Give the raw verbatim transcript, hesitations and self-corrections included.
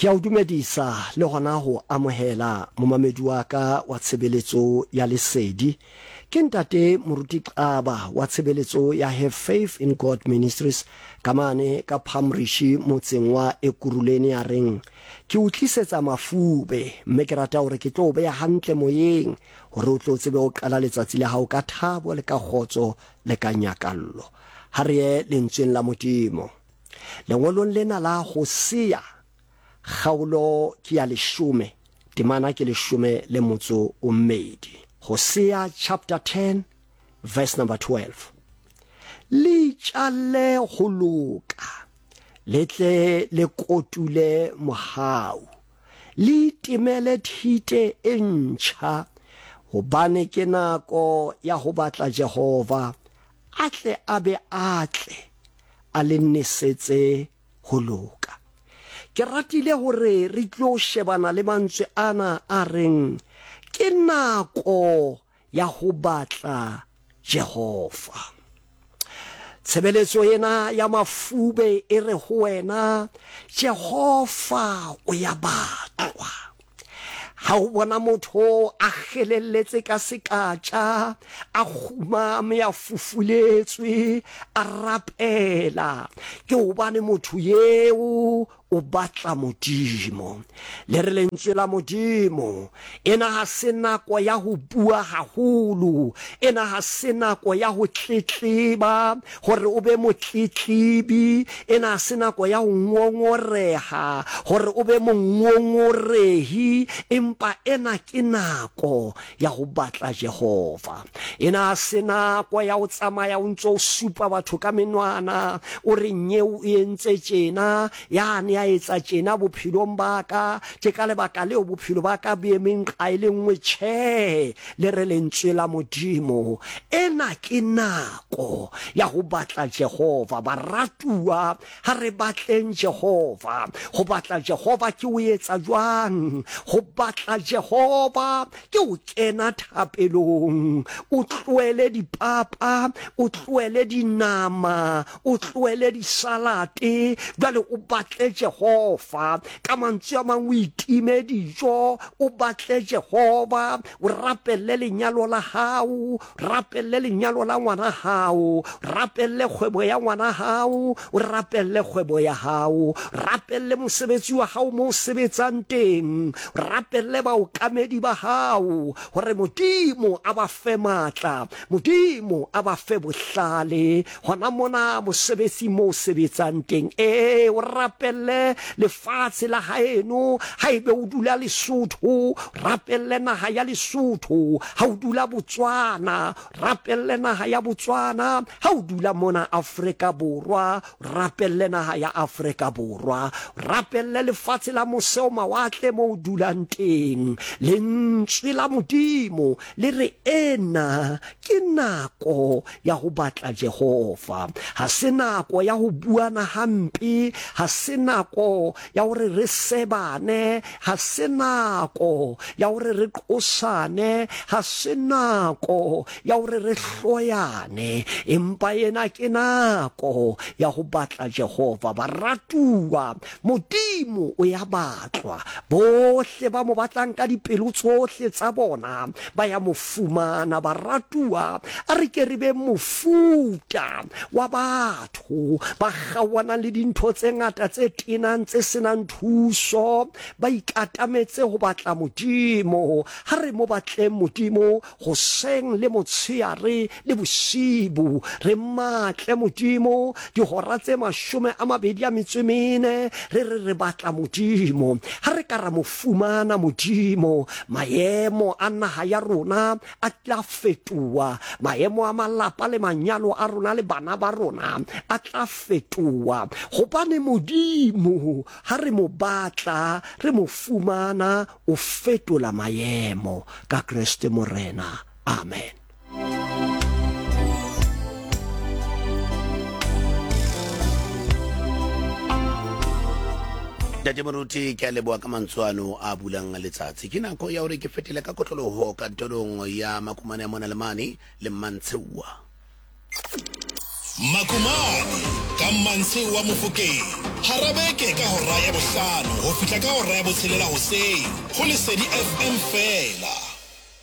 Ke a o dumedisa le hona ho amohela momamedi wa ka wa tshebeletso ya Lesedi. Ke ntate Moruti Xaba wa tshebeletso ya Have Faith in God Ministries ka mane ka Palmrish motseng wa Ekurhuleni ya reng ke o tlisetsa mafube mme ke rata hore ke tlo o beha hantle moyeng hore o tlo tsebe ho qala letsatsi la hao ka thabo le ka kgotso le ka nyakallo. Ha re ye lentsweng la Modimo. Lengolong lena la Hosea kgaolo ke ya leshome, temana ke leshome le motso o mmedi. Hosea chapter ten verse number twelve. Le itjalle ho loka, le tle le kotule mohau, le itemele thite e ntjha, hobane ke nako ya ho batla Jehova, a tle a be a tle a le nesetse ho loka. Ke ratile hore re tlo shebana le mantswe ana a reng ke nako ya ho batla Jehova. Tshebeletso ena ya mafube e re ho wena Jehova o ya batlwa. Ha o bona motho a kgelelletse ka sekatja, a kgumame, a fufuletswe, a rapela, ke hobane motho eo o batla Modimo. Le re lentswe la Modimo, ena ha se nako ya ho bua haholo, ena ha se nako ya ho tletleba hore o be motletlebi, ena ha se nako ya ho ngongoreha hore o be mongongorehi, empa ena ke nako ya ho batla Jehova. Ena ha se nako ya ho tsamaya o ntso o supa batho ka menwana, o re nyeo o entse tjena, yane ya etsa tjena bophelong ba ka, ke ka lebaka leo bophelo ba ka bo emeng nqa e le nngwe. Tjhe, le re lentswe la Modimo, ena ke nako ya ho batla Jehova. Baratuwa, ha re batleng Jehova. Ho batla Jehova ke ho etsa jwang? Ho batla Jehova ke ho kena thapelong, o tlohele dipapa, o tlohele dinama, o tlohele disalate, jwale o batle Jehova. Ka mantswe a mang, o itime dijo, o batle Jehova, o rapelle lenyalo la hao, rapelle lenyalo la ngwana hao, rapelle kgwebo ya ngwana hao, o rapelle kgwebo ya hao, rapelle mosebetsi wa hao mo o sebetsang teng, rapelle baokamedi ba hao hore Modimo a ba fe matla, Modimo a ba fe bohlale hona mona mosebetsing mo o sebetsang teng. Ee, o rapelle lefatshe la haeno, haebe o dula Lesotho, rapelle naha ya Lesotho, ha o dula Botswana, rapelle naha ya Botswana, ha o dula mona Afrika Borwa, rapelle naha ya Afrika Borwa, rapelle lefatshe la mose o mawatle mo o dulang teng. Lentswe la Modimo le re ena ke nako ya ho batla Jehova. Ha se nako ya ho buana hampe, ha se nako ya hore re sebane, ha se nako ya hore re qosane, ha se nako ya hore re hloyane, empa ena ke nako ya ho batla Jehova. Baratuwa, Modimo o ya batlwa. Bohle ba mo batlang ka dipelo tsohle tsa bona ba ya mo fumana. Baratuwa, a re ke re be mofuta wa batho ba kgaohanang le dintho tse ngata tse tenang tse senang thuso, ba ikatametse ho batla Modimo. Ha re mo batleng Modimo hoseng le motsheare le bosibu, re matle Modimo dihora tse mashome a mabedi a metso e mene, re re re batla Modimo. Ha re ka ra mo fumana Modimo, maemo a naha ya rona a tla fetoha, maemo a malapa le manyalo a rona le bana ba rona a tla fetoha, hobane Modimo ha re mo batla, re mo fumana, o fetola maemo ka Kreste Morena. Amen. Ntate Moruti, ke a leboha ka mantswe ano a bulang letsatsi. Ke nako ya hore ke fetele ka kotloloho kantorong ya Makumane ya mona le mane le Mmantsheua. Makumane ka Mmantshe wa Mofokeng hara beke ka hora ya bohlano ho fihla ka hora ya botshelela hoseng ho Lesedi F M feela.